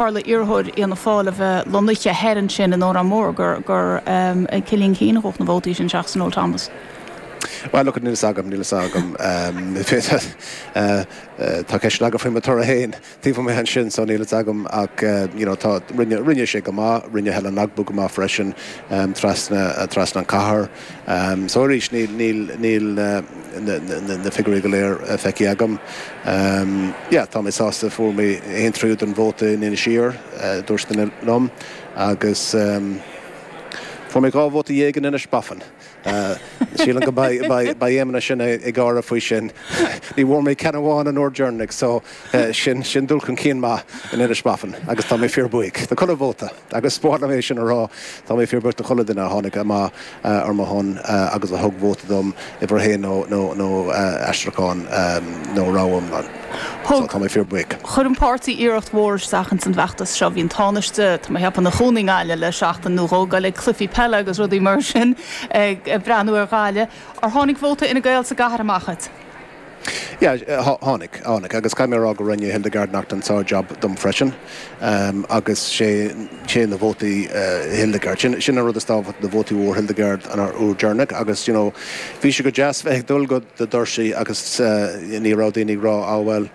Tharla iarrthóir Fhianna Fáil a bheith lonnaithe thoir ansin in Órán Mór gur gur ag Cillian Keane a ghabhadh na vótaí sin seachas Noel Thomas. Bhuel, look, níl a fhios agam, níl a fhios agam. Tá ceisteanna agam faoi mo toradh féin taobh amuigh ansin so níl a fhios agam ach you know tá, rinne, rinne sé go maith, rinne Helen Ogbu go maith freisin trasna, trasna an cathair. So arís níl, níl, níl na, na, na figiúirí go léir feicthe agam. Yeah, tá mé sásta, fuair mé aon tríú den vóta in Inis Oírr, dúirt duine liom, agus fuair mé 12 vóta in Inis Bofin. Sílim go mbeidh, beidh, beidh Éamonn ansin ag gáire faoi sin. Ní bhfuair mé ceann amháin an uair deireanach, so sin, sin dul chun cinn maith in Inis Bofin agus tá mé fíorbhuíoch do chuile vóta. Agus ba mhaith liom é sin a rá, tá mé fíorbhuíoch do chuile duine a tháinig amach ar mo shon agus a thug vóta dom, uimhir a haon nó aistriúchán nó rogha iomlán. So tá mé fíorbhuíoch. Chuir an páirtí iarracht mhór isteach ins an bhfeachtas seo. Bhí an Tánaiste, tá mé a cheapadh, ina chónaí i nGaillimh le seachtain nó dhó, ag dul ag cluichí peile agus rudaí mar sin, ag breathnú ar Ghaillimh. Ar tháinig vóta Fhine Gael sa gcathair amach dhuit? Yeah, tháinig, tháinig. Agus caithfidh mé a rá go rinne Hildegarde Naughton sár-jab dom freisin. Agus sé, sé na vótaí Hildegarde, sin, sin an rud is tábhachtaí, na vótaí a fuair Hildegarde an uair deireanach. Agus, you know, bhí sé go deas bheith ag dul go do doirsí agus ní raibh daoine ag rá, ah bhuel,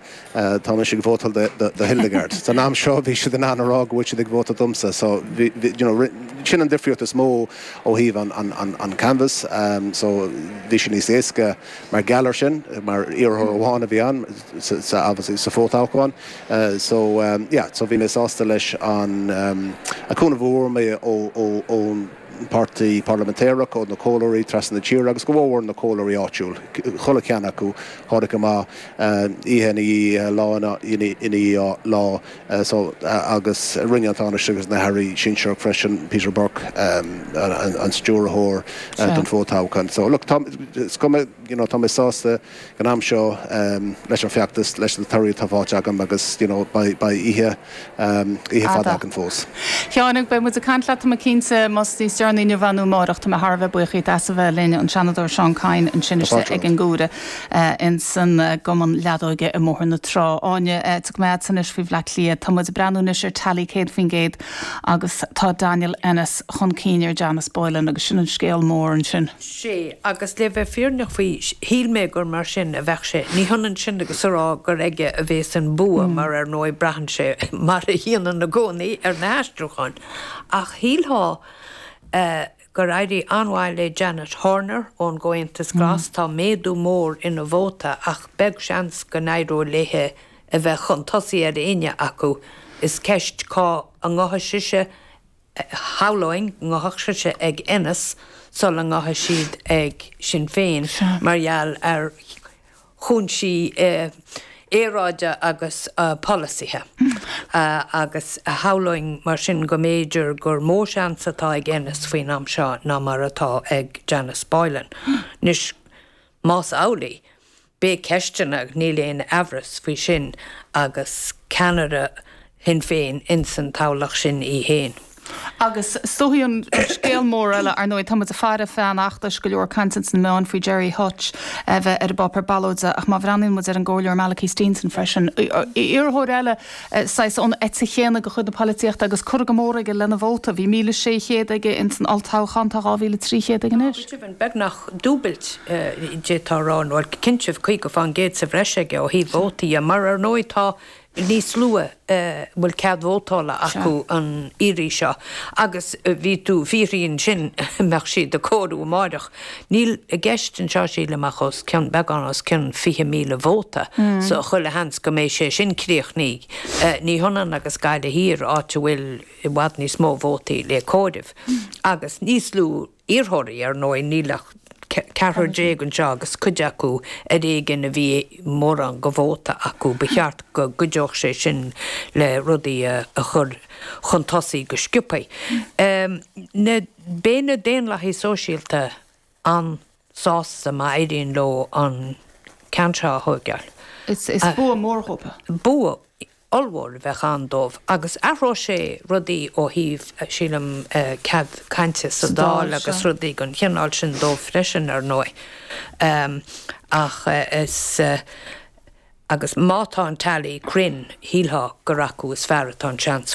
tá mise ag vótáil do, do, do Hildegarde. San am seo bhí siad in ann a rá go bhfuil siad ag vótáil domsa. So, bhí, bhí, you know, sin an difríocht is mó ó thaobh an, an, an, an canvas. So, bhí sé níos éasca. Mar gheall air sin, mar iarrthóir amháin a bhí ann sa obviously sa fho-toghchán so yeah so bhí mé sásta leis an cúnamh a fuair mé ó ón bpáirtí parlaiminteach, ó na comhairleoirí trasna na tíre agus go mhór na comhairleoirí áitiúil, chuile cheann acu tháinig amach oíche ina dhiaidh lá ina dhiaidh lá. So, agus rinne an Tánaiste agus na hAirí sinsearach freisin, Peter Burke, an stiúrthóir don fho-toghchán. So, look, tá, is cuma, you know, tá mé sásta ag an am seo leis an feachtas, leis na torthaí atá faighte agam agus, you know, beidh, beidh oíche, oíche fada againn fós. Sheáin, beidh muid ag caint leat, tá mé cinnte, más níos deireanaí inniu nó amárach. Tá mé thar a bheith buíoch díot as a bheith linn, an Seanadóir Seán Kyne ansin istigh ag an gCuaire. ins an gCumann Leadóige i mBóthar na Trá. Áine, tiocfaidh mé agatsa anois faoi Bhleá Cliath. Tá muid ag breathnú anois ar tally 100% agus tá Daniel Ennis chun cinn ar Janice Boylan agus sin an scéal mór ansin. Sea, agus le bheith fírinneach faoi, shíl mé gur mar sin a bheadh sé. Ní hionann sin agus a rá gur aige a bhéas an bua, mar ar ndóigh braitheann sé, mar a dhéanann i gcónaí, ar na haistriúcháin. Ach shílfeá gur éirigh an-mhaith le Janet Horner ón gComhaontas Glas. Tá méadú mór ina vóta ach beag seans go n-éireoidh léi a bheith chun tosaigh ar éinne acu. Is ceist cá ngabhfaidh sise, shamhlóinn go ngabhfadh sise ag Ennis sula ngabhfaidh siad ag Sinn Féin mar gheall ar chúinsí aeráide agus polasaithe, agus shamhlóinn mar sin go mb'fhéidir gur mó seans atá ag Ennis faoin am seo ná mar atá ag Janice Boylan. Anois, más amhlaidh, beidh ceisteanna, níl aon aimhreas faoi sin, agus ceannaire Shinn Féin ins an toghlach sin í féin. Agus is dóichí an scéal mór eile, ar ndóigh, tá muid ag faire feadh an fheachtais, go leor cainte ins na meáin faoi Gerry Hutch a bheith ar an bpáipéar ballóide ach má bhreathnaíonn muid ar an gComhairleoir Malachy Steenson freisin, iarrthóir eile saghas ón eite chéanna de chuid na polaitíochta agus curtha go mór aige lena vóta. Bhí 1,600 aige ins an olltoghchán, tá 2,300 aige anois. Go deimhin, beagnach dúbailt d'fhéadfá a rá, nó cinnte 50% sa bhreis aige ó thaobh vótaí dhe, mar ar ndóigh tá níos lú a bhfuil cead vótála acu an iarraidh seo agus bhí tú ag fiafraí ansin an mbeadh siad ag comhaireamh amáireach. Níl i gceist anseo sílim ach os cionn, beagán os cionn 20,000 vóta so chuile sheans go mbeidh sé sin críochnaithe. Ní hionann agus Gaillimh Thiar áit a bhfuil i bhfad níos mó vótaí le comhaireamh agus níos lú iarrthóirí, ar ndóigh, níl ach ceathrar anseo agus cuid acu ar éigean a bhí mórán de vóta acu. Ba cheart go gcuideodh sé sin le rudaí a chur chun tosaigh go sciobtha. Beidh na Daonlathaigh Sóisialta an-sásta má éiríonn leo an ceann seo a thóigeáil. Is bua mór dhóibh. Bua ollmhór a bheadh ann dóibh agus athróidh sé rudaí ó thaobh, sílim, cead cainte sa Dáil agus rudaí den chineál sin dóibh freisin, ar ndóigh. Ach is. Agus má tá an tally cruinn, shílfeá gur acu is fearr atá an seans faoi.